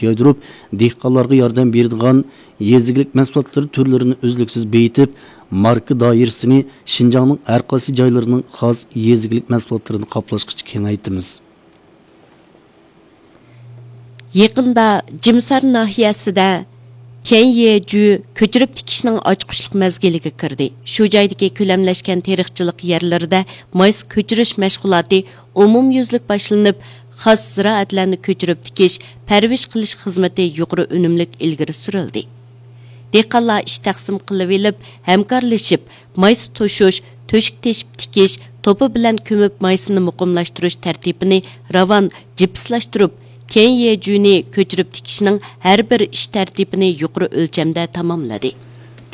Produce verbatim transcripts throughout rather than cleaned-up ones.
يايدۇرۇپ، دېھقانلارغا ياردەم بېرىدىغان يېزا ئىگىلىك مەھسۇلاتلىرى تۈرلىرىنى ئۈزلۈكسىز بېيىتىپ، ماركا دائىرىسىنى شىنجاڭنىڭ ھەر قايسى جايلىرىنىڭ خاس يېزا ئىگىلىك مەھسۇلاتلىرىنى قاپلاشقىچە كېڭەيتىمىز. يېقىندا جىمسار ناھىيەسىدە تيەنيېجۈ كۆچۈرۈپ تىكىشنىڭ ئاچقۇچلۇق مەزگىلىگە كىردى. شۇ جايدىكى كۆلەملەشكەن تېرىقچىلىق يەرلىرىدە مايسا كۆچۈرۈش مەشغۇلاتى ئومۇميۈزلۈك باشلىنىپ، خاس زىرائەتلەرنى كۆچۈرۈپ تىكىش، پەرۋىش قىلىش خىزمىتى يۇقىرى ئۈنۈملۈك ئىلگىرى سۈرۈلدى. دېھقانلار ئىش تەقسىم قىلىۋېلىپ، ھەمكارلىشىپ، مايسا توشۇش، تۆشۈك تېشىپ تىكىش، توپا بىلەن كۆمۈپ مايسىنى مۇقىملاشتۇرۇش تەرتىپىنى راۋان جىپسلاشتۇرۇپ، تيەنيېجۈنى كۆچۈرۈپ تىكىشنىڭ ھەر بىر ئىش تەرتىپىنى يۇقىرى ئۆلچەمدە تاماملىدى.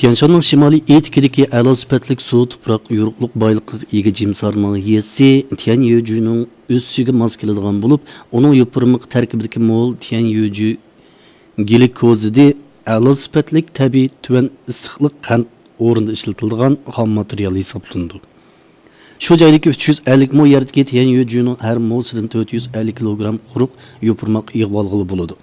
تيەنشاننىڭ شىمالىي ئېتىكىدىكى ئەلا سۈپەتلىك سۇ، تۇپراق، يورۇقلۇق بايلىقىغا ئىگە جىمسار ناھىيەسى تيەنيېجۈنىڭ ئۆسۈشىگە ماس كېلىدىغان بولۇپ، ئۇنىڭ يوپۇرمىقى تەركىبىدىكى مول تيەنيېجۈ گلىكوزىدى ئەلا سۈپەتلىك تەبىئىي تۆۋەن ئىسسىقلىق قەنت ئورنىدا ئىشلىتىلىدىغان خام ماتېرىيال ھېسابلىنىدۇ. شۇ جايدىكى ئۈچ يۈز ئەللىك مو يەردىكى تيەنيۈجۈنىڭ ھەر موسىدىن تۆت يۈز ئەللىك كىلوگرام قۇرۇق يوپۇرماق يىغىۋالغىلى بولىدۇ.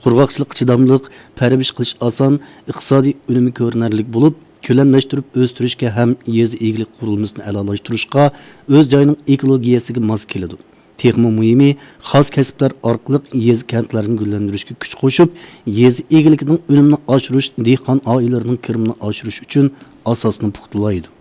قۇرغاقچىلىققا چىداملىق، پەرۋىش قىلىش ئاسان، ئىقتىسادىي ئۈنۈمى كۆرۈنەرلىك بولۇپ، كۆلەملەشتۈرۈپ ئۆستۈرۈشكە ھەم يېزا ئىگىلىك قۇرۇلمىسىنى ئەلالاشتۇرۇشقا، ئۆز جايىنىڭ ئېكولوگىيەسىگە ماس كېلىدۇ. تېخىمۇ مۇھىمى، خاس كەسىپلەر ئارقىلىق يېزا، كەنتلەرنى گۈللەندۈرۈشكە كۈچ قوشۇپ، يېزا ئىگىلىكىنىڭ ئۈنۈمىنى ئاشۇرۇش، دېھقان ئائىلىلىرىنىڭ كىرىمىنى ئاشۇرۇش ئۈچۈن ئاساسنى پۇختىلايدۇ.